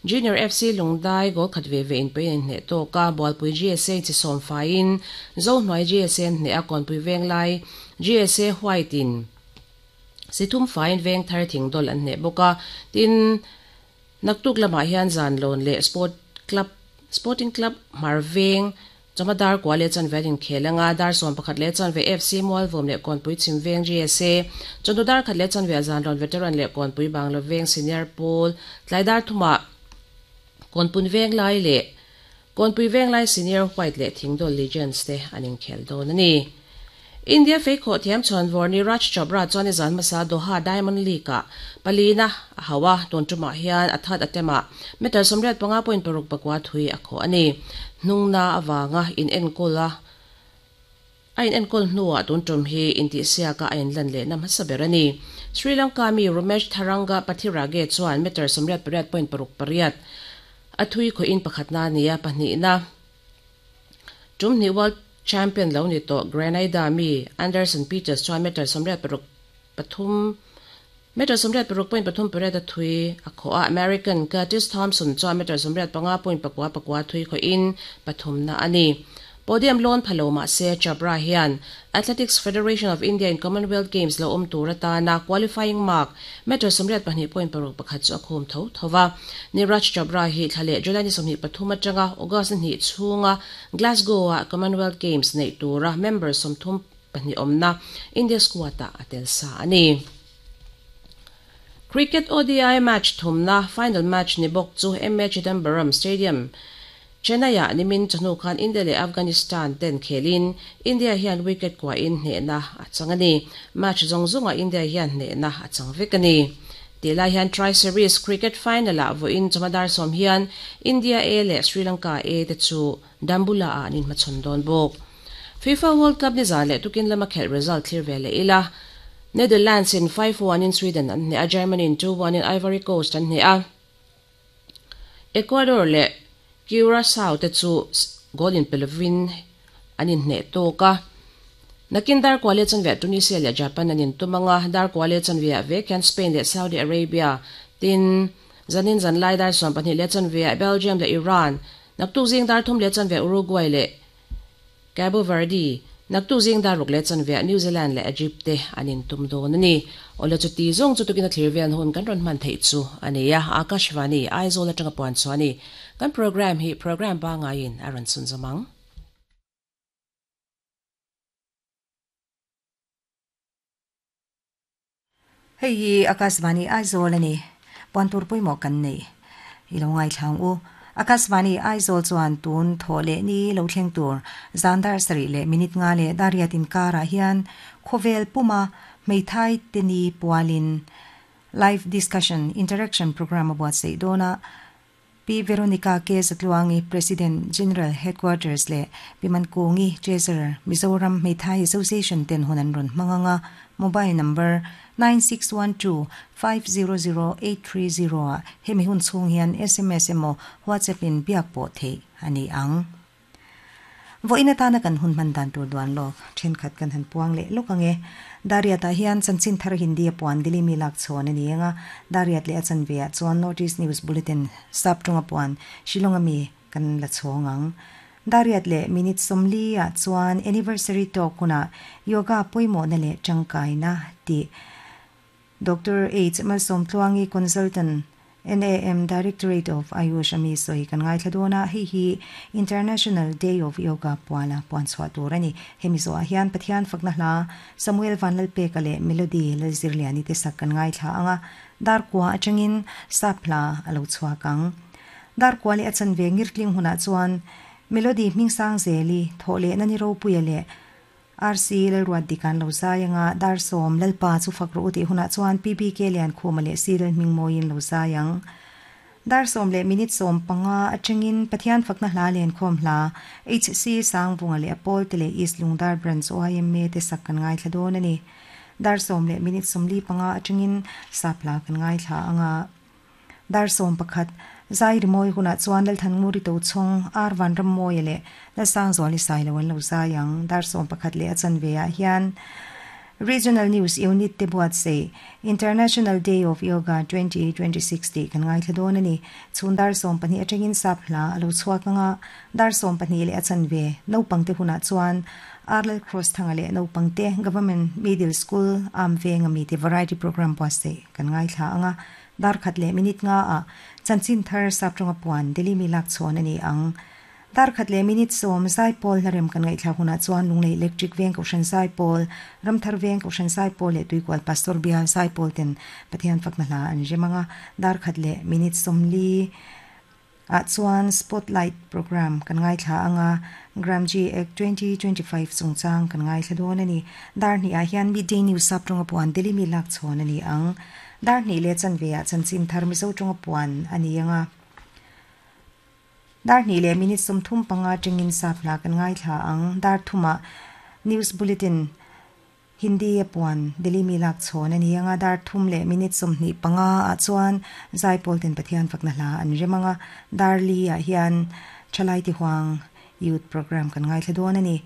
Junior FC Lungdai goal khat ve ve in pui an inhneh tawk a, Bualpui GSA chi sawm faiin Zohnuai GSA an hneh a, Kawnpui Venglai GSA White in si thum faiin Vengthar Thingdawl an hneh bawk a, tin, naktuk lamah hian Zanlawn leh Sport Club Sporting Club Hmar Veng Chawhma dar kua leh chanve an inkhel anga, dar 11 leh chanve FC Mualvawm leh Kawnpui Chhim Veng GSA, chawhnu dar khat leh chanve a Zanrawn Veteran leh Kawnpui Bangla Veng Senior Pawl, tlai dar thumah Kawnpun Venglai leh Kawnpui Venglai Senior White leh Thingdawl Legends te an inkhel dawn a ni. India feikhawh thiam chhuanvawr Neeraj Chopra chuan i zan hmasa Doha Diamond League-ah palina a hauh a, tun tumah hian a that attempt-ah meter 85.64 thui a khawh a ni. Hnungna avanga inenkawl a a inenkawl hnuah tun tum hi intihsiaka a inlan lehna hmasa ber a ni. Sri Lanka mi Rumesh Tharanga Pathirage chuan meter 88.68 a thui khawhin pakhatna a ni a, pahnihna Tum hnih World Champion lo ni tawh Grenada mi Anderson Peters chuan meter 86 pathum meter 86 point pathum pariat a thui a khawh a, American Curtis Thompson chuan meter 85 point pakua pakua thui khawhin pathumna a ni. Podium lawn pha lo mah se Chhabra hian Athletics Federation of India in Commonwealth Games lo awm tur atana qualifying mark meter 82.61 chu a khum tho tho va. Neeraj Chhabra hi thla leh July ni 23 atanga August ni hnih chhunga Glasgow-a Commonwealth Games neih tura member 32 awmna India squad-ah a tel sa a ni. Cricket ODI match thumna final match ni bawk chu MA Chidambaram Stadium, Chennai-ah nimin chawhnu khan India leh Afghanistan ten khelin India hian wicket kuahin hnehna a chang a ni. Match zawng zawngah India hian hnehna a chang vek a ni. Tih lai hian Tri-Series Cricket Final-ah vawiin chawhma dar sawm hian India A leh Sri Lanka A te chu Dambulla-ah an inhmachhawn dawn bawk. FIFA World Cup nizan leh tukin lama khelh result thlir ve leh ila. Netherlands in 5-1 in Sweden an hneh a, Germany in 2-1 in Ivory Coast an hneh a. Ecuador leh Curacao te chu goal inpe lovin an inhneh tawk a. Nakin dar kua leh chanveah Tunisia leh Japan an intum ang a, dar kua leh chanveah vek hian Spain leh Saudi Arabia tin zanin zanlai dar 12 leh chanveah Belgium leh Iran, naktuk zing dar thum leh chanveah Uruguay leh Cabo Verde, naktuk zing dar ruk leh chanveah New Zealand leh Egypt te an intum dawn a ni. Awle chuti zawng chu tukin a thlir vel hun kan rawn hman theih chu a ni a, Akashvani, Aizawl atanga puan chhuah a ni. Kan programme hi programme pangaiin a rawn chhunzawm ang. Hei hi Akashvani Aizawl a ni. Puan tur pawimawh kan nei. I lo ngaithla ang u. Akashvani Aizawl chuan tun thawh leh ni lo thleng tur zan dar sarih leh minute nga leh dariat inkarah hian khawvel puma hmeithai te ni pualin Live Discussion Interaction Programme a buatsaih dawn a. Pi Veronica K. Zatluangi, President, General Headquarters leh Pi Mankungi, Treasurer, Mizoram Hmeithai Association ten hun an rawn hmang ang a, mobile number, 9612500830 ah hemi hun chhung hian sms emaw WhatsApp in biak pawh theih a ni ang. Vawiin atana kan hun hman dan tur duan lawk thenkhat kan han puang leh lawk ang e. Dariat-ah hian chanchin thar Hindi a puan Delhi mi lak chhawn a ni ang a, Dariat leh a chanve ah chuan North East News Bulletin sap tawnga puan Shillong-a mi kan la chhawng ang. Dariat leh minute 40 ah chuan Anniversary Talk hunah Yoga pawimawhna leh tangkaina tih Doctor H. Malsawmtluangi Consultant, NAM Directorate of Ayush a mi sawi kan ngaithla dawn a, hei hi International Day of Yoga puala puan chhuah tur a ni. Hemi zawhah hian Pathian fakna hla Samuel Vanlalpeka leh Melody Lalzirliani te sak kan ngaithla ang a, dar kua atangin sap hla a lo chhuak ang. Dar kua leh a chanve ngirtling hunah chuan Melody Hmingsangzeli, Thawhlehna ni ropuia leh RC Lalruat dik an lo zai anga dar sawm Lalpa chu fak rawh u tih hunah chuan PBK Liankhuma leh Si Lalhmingmawiin lo zai ang. Dar sawm leh minute 15 atangin Pathian fakna hla lenkhawm hla HC Sangvunga leh a pawlte leh East Lungdar Branch YMA te sak kan ngaithla dawn a ni. Dar sawm leh minute 45 atangin sap hla kan ngaithla anga. Dar 11, Zai rimawi hunah chuan Lalthannguri Tochhawng, Ar Vanrammawia leh Lalsangzuali Sailo an lo zai ang. Dar 11 leh a chanve ah hian Regional News Unit te buatsaih International Day of Yoga 2026 tih kan ngaithla dawn a ni. Chhun dar 12 atangin sap hla a lo chhuak anga, dar 12 leh a chanve naupangte hunah chuan Arlal Cross thanga leh naupangte Government Middle School am venga mite Variety Programme buatsaih kan ngaithla anga, dar khat leh minute nga ah chanchin thar sap tawnga puan Delhi mi lak chhawn a ni ang. Dar khat leh minute 10 Zaipawl hlarem kan ngaihthlak hunah chuan Lunglei Electric Veng Kohhran Zaipawl, Ramthar Veng Kohhran Zaipawl leh Tuikual Pastor Bial Zaipawl ten Pathian fakna hla an rem anga, dar khat leh minute 40 ah chuan Spotlight Programme kan ngaithla anga, Gramji Act 2025 chungchang kan ngaithla dawn a ni. Dar hnih ah hian Midday News sap tawnga puan Delhi mi lak chhawn a ni ang. Dar hnih leh chanve ah chanchin thar Mizo tawnga puan a ni anga. Dar hnih leh minute 35 tengin sap hla kan ngaithla ang. Dar thumah News Bulletin Hindi a puan Delhi mi lak chhawn a ni anga, dar thum leh minute 25 ah chuan Zaipawl ten Pathian fakna hla an rem anga, dar li ah hian Thalai ti huang Youth Programme kan ngaithla dawn a ni.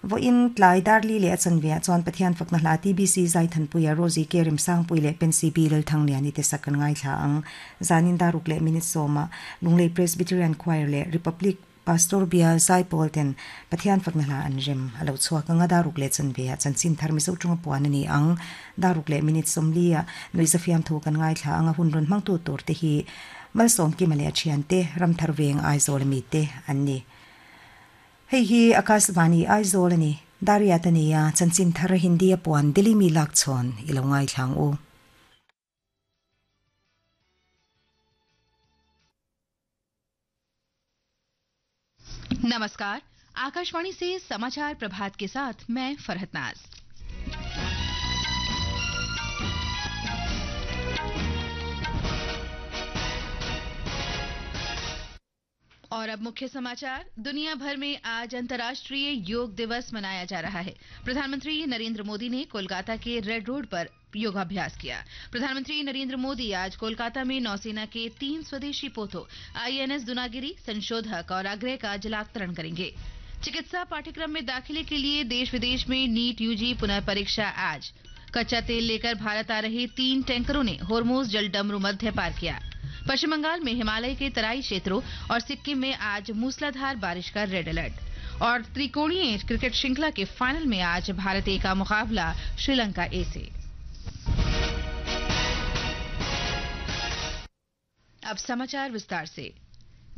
Vawiin tlai dar li leh a chanve ah chuan Pathian fakna hla TBC Zaithanpuia Rosie K Remsangpui leh Pensy B Lalthangliani te sak kan ngaithla ang. Zanin dar ruk leh minute 10 ah Lunglei Presbyterian Choir leh Republic Pastor Bial Zaipawl ten Pathian fakna hla an rem a lo chhuak anga, dar ruk leh chanve ah chanchin thar Mizo tawnga puan a ni ang. Dar ruk leh minute 40 ah Nuihza fiamthu kan ngaithla anga, hun rawn hmangtu tur te hi Malsawm Kima leh a thian te, Ramthar Veng Aizawl ami te an ni. Hei hi Akashvani Aizawl a ni. Dariat a ni a, chanchin thar Hindi a puan Delhi mi lak chhawn i lo ngaithla ang u. नमस्कार, आकाशवाणी से समाचार प्रभात के साथ मैं फरहत नाज। और अब मुख्य समाचार। दुनिया भर में आज अंतर्राष्ट्रीय योग दिवस मनाया जा रहा है। प्रधानमंत्री नरेंद्र मोदी ने कोलकाता के रेड रोड पर योगाभ्यास किया। प्रधानमंत्री नरेंद्र मोदी आज कोलकाता में नौसेना के 3 स्वदेशी पोतों आईएनएस दुनागिरी, संशोधक और आग्रह का जलावतरण करेंगे। चिकित्सा पाठ्यक्रम में दाखिले के लिए देश विदेश में नीट यूजी पुनर्परीक्षा आज। कच्चा तेल लेकर भारत आ रहे 3 टैंकरों ने होर्मुज जलडमरू मध्य पार किया। पश्चिम बंगाल में हिमालय के तराई क्षेत्रों और सिक्किम में आज मूसलाधार बारिश का रेड अलर्ट। और त्रिकोणीय क्रिकेट श्रृंखला के फाइनल में आज भारत ए का मुकाबला श्रीलंका ए से। अब समाचार विस्तार से।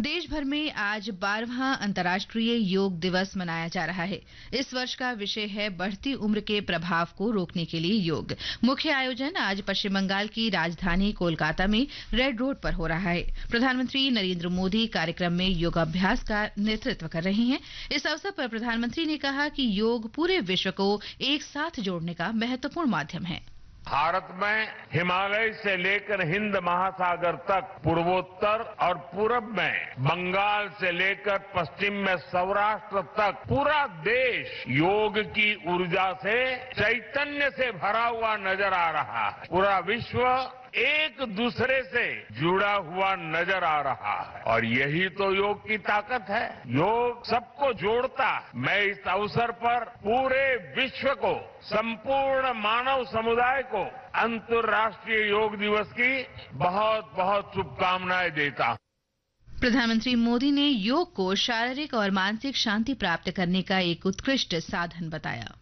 देश भर में आज 12वां अंतर्राष्ट्रीय योग दिवस मनाया जा रहा है। इस वर्ष का विषय है बढ़ती उम्र के प्रभाव को रोकने के लिए योग। मुख्य आयोजन आज पश्चिम बंगाल की राजधानी कोलकाता में रेड रोड पर हो रहा है। प्रधानमंत्री नरेंद्र मोदी कार्यक्रम में योगाभ्यास का नेतृत्व कर रहे हैं। इस अवसर पर प्रधानमंत्री ने कहा कि योग पूरे विश्व को एक साथ जोड़ने का महत्वपूर्ण माध्यम है। भारत में हिमालय से लेकर हिंद महासागर तक, पूर्वोत्तर और पूरब में बंगाल से लेकर पश्चिम में सौराष्ट्र तक पूरा देश योग की ऊर्जा से, चैतन्य से भरा हुआ नजर आ रहा है। पूरा विश्व एक दूसरे से जुड़ा हुआ नजर आ रहा है और यही तो योग की ताकत है। योग सबको जोड़ता है। मैं इस अवसर पर पूरे विश्व को, संपूर्ण मानव समुदाय को अंतर्राष्ट्रीय योग दिवस की बहुत बहुत शुभकामनाएं देता हूं। प्रधानमंत्री मोदी ने योग को शारीरिक और मानसिक शांति प्राप्त करने का एक उत्कृष्ट साधन बताया।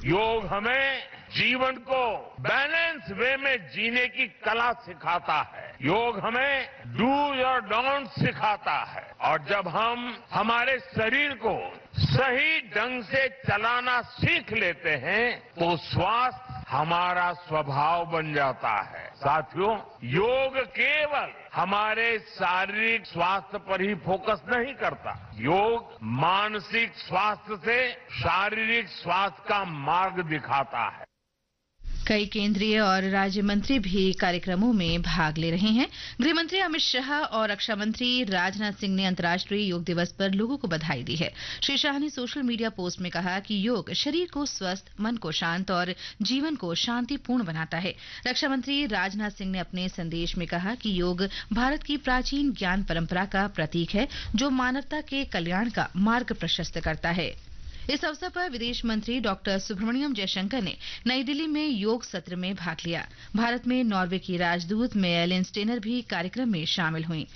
योग हमें जीवन को बैलेंस वे में जीने की कला सिखाता है। योग हमें do और don't सिखाता है। और जब हम हमारे शरीर को सही ढंग से चलाना सीख लेते हैं तो स्वास्थ्य हमारा स्वभाव बन जाता है। साथियों, योग केवल हमारे शारीरिक स्वास्थ्य पर ही फोकस नहीं करता। योग मानसिक स्वास्थ्य से शारीरिक स्वास्थ्य का मार्ग दिखाता है। कई केंद्रीय और राज्य मंत्री भी कार्यक्रमों में भाग ले रहे हैं। गृह मंत्री अमित शाह और रक्षा मंत्री राजनाथ सिंह ने अंतर्राष्ट्रीय योग दिवस पर लोगों को बधाई दी है। श्री शाह ने social media post में कहा कि योग शरीर को स्वस्थ, मन को शांत और जीवन को शांतिपूर्ण बनाता है। रक्षा मंत्री राजनाथ सिंह ने अपने संदेश में कहा कि योग भारत की प्राचीन ज्ञान परंपरा का प्रतीक है, जो मानवता के कल्याण का मार्ग प्रशस्त करता है। इस अवसर पर विदेश मंत्री डॉक्टर सुब्रमण्यम जयशंकर ने नई दिल्ली में योग सत्र में भाग लिया। भारत में नॉर्वे की राजदूत मेयलिन स्टेनर भी कार्यक्रम में शामिल हुई।